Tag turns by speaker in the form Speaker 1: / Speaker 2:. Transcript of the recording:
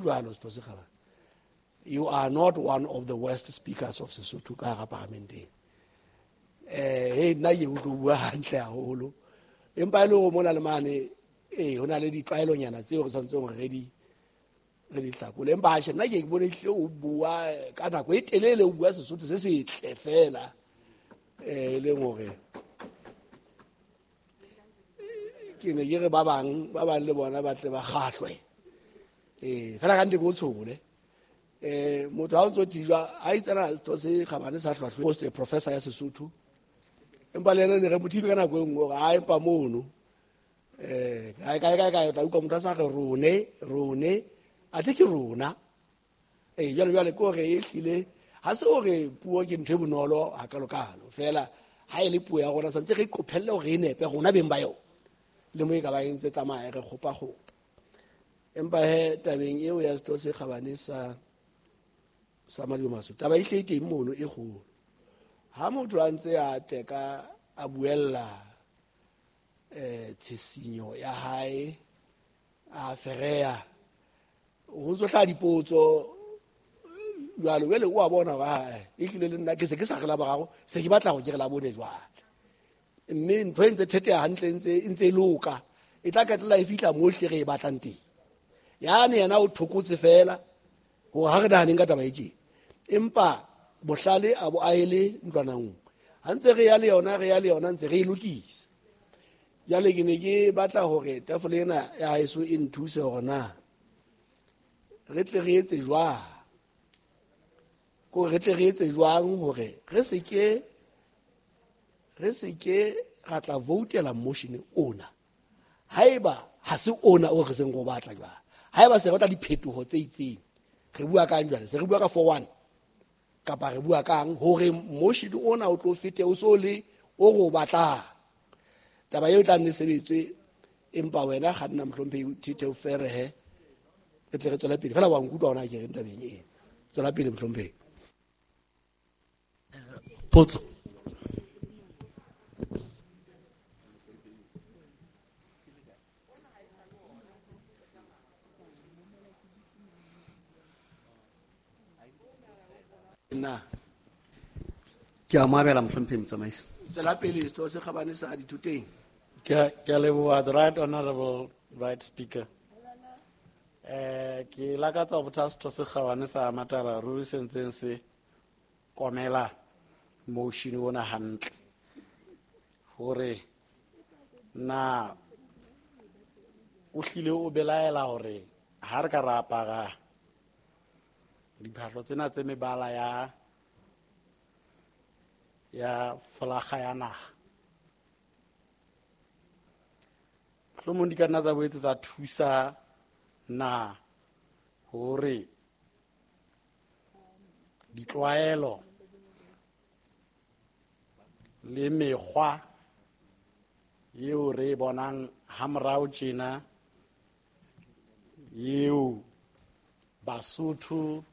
Speaker 1: Jwalo Setho se Kgabane, you are not one of the worst speakers of Sesotho ka hara paramenteng. Hey, nna ke utlwe o bua hantle haholo, empa e le hore mona le mane ho na le ditlwaelonyana tseo re tshwanetseng hore re di hlakole. Empa atjhe, nna ke bone ehlile o bua ka nako e telele, o bua Sesotho se setle fela, e leng hore ke ne ke re ba bang le bona ba tle ba kgahlwe. Fela ka nnete ke o tshole. Motho ha o ntso tijwa, ha itsena Setho se Kgabane sa hlwahlwe, post professor ya Sesotho, empa le yena ne re mo thibe ka nako e nngwe hore a empa mono. Kae kae kae kae, o tla utlwa motho a sa re rone, rone, athe ke rona. Jwale jwale ke hore ehlile ha se hore puo ke ntho e bonolo hakalokalo, fela ha e le puo ya rona santse re qophelle hore e nepe rona beng ba yona, le mo e ka ba e ntse tsamaya re kgopa-kgopa. Empa he tabeng eo ya Setho se Kgabane sa Madimaso, taba e hle e teng mono e kgolo. Ha motho a ntse a teka a buella tshisinyo ya hae, a fereya, ho ntso hlaha dipotso jwalo. Jwale o a bona hore ha e hlile le nna ke se ke sa re la boraro, se ke batla hore ke re la bone jwale. Mme ntho e ntse theteha hantle, e ntse e loka, e tla qetella e fihla mo hle re e batlang teng. Yane yena o thokotse fela hore ha re nahaneng ka taba e tjena, empa bohlale a bo aele ntlwanang nngwe. Ha ntse re ya le yona, re ya le yona, ntse re e lokisa. Jwale ke ne ke batla hore tafole ena ya haeso e nthuse hore na re tle re etse jwang, ko re tle re etse jwang hore re se ke ra tla voutela motion ona haeba ha se ona o re seng go batla jwale. Haeba se re batla diphetoho tse itseng, re bua kang jwale? Se re bua ka 4-1 kapa re bua kang hore motion ona o tlo fete o so le o re o batlang? Taba eo e tla nne sebetswe, empa wena kganna mohlomphehi Thithe o ferehe, re tle re tswele pele. Fela wa nkutlwa hona ke reng tabeng ena. Tswela pele mohlomphehi.
Speaker 2: Potso.
Speaker 1: Na.
Speaker 2: Ke a mo abela mohlomphehi motsamaisi.
Speaker 1: Tswela pele Setho se Kgabane sa Dithoteng.
Speaker 3: Ke a leboha, the right honorable right speaker. Ke lakatsa ho botsa Setho se Kgabane sa Matala ruri se ntseng se komela motion ona hantle, hore na o hlile o belaela hore ha re ka ra apara diphahlo tsena tse mebala ya folaga ya naha, mohlomong di ka nna tsa boetse tsa thusa na hore ditlwaelo le mekgwa eo re e bonang hamorao tjena eo Basotho